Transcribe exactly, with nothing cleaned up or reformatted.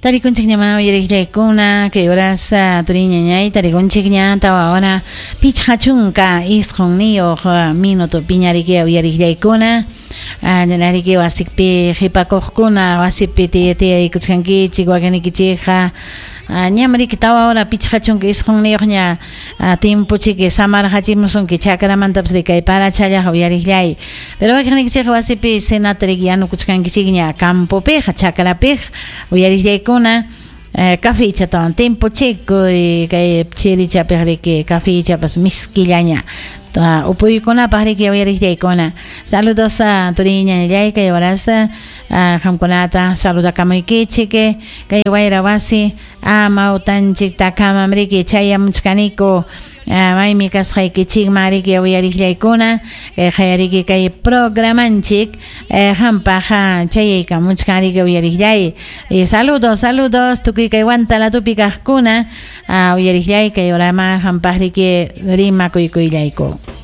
Tarikunchik ña uyariqllaykuna kay horas turiñañay tarikunchik ña tawa hora pichqa chunka isqunniyuq minuto piñariki uyariqllaykuna ñanariki wasipi qhipakuqkuna wasipi tiyaykuchkankichik wakinikichikqa ñamriki tawa hora pichqa chunka isqunniyuq ña timpuchiki samarqachimusunki chakramantapas rikay parachallaqa uyariqllay pero wakiqnikichikqa wasipi cenata riki yanukuchkankichikña campopiqa chakrapiqa uyariqllaykuna cafechatawan timpuchikuy kay chirichapiq riki cafechapas miskillaña upuykunapaq riki uyariqllaykuna saludos a turiñañallay kay horas qamkunata saludakamuykichik kay wayra wasi amawtanchik takamam riki chayamuchkaniku maymi kasqaykichikman riki uyariqllaykuna kay qayariki kay programanchik qampaq chayaykamuchkan riki uyariqllay saludos saludos tukuy kay Huantalatupi kaqkuna uyariqllay kay horama qampaq riki rimakuykuyllayku.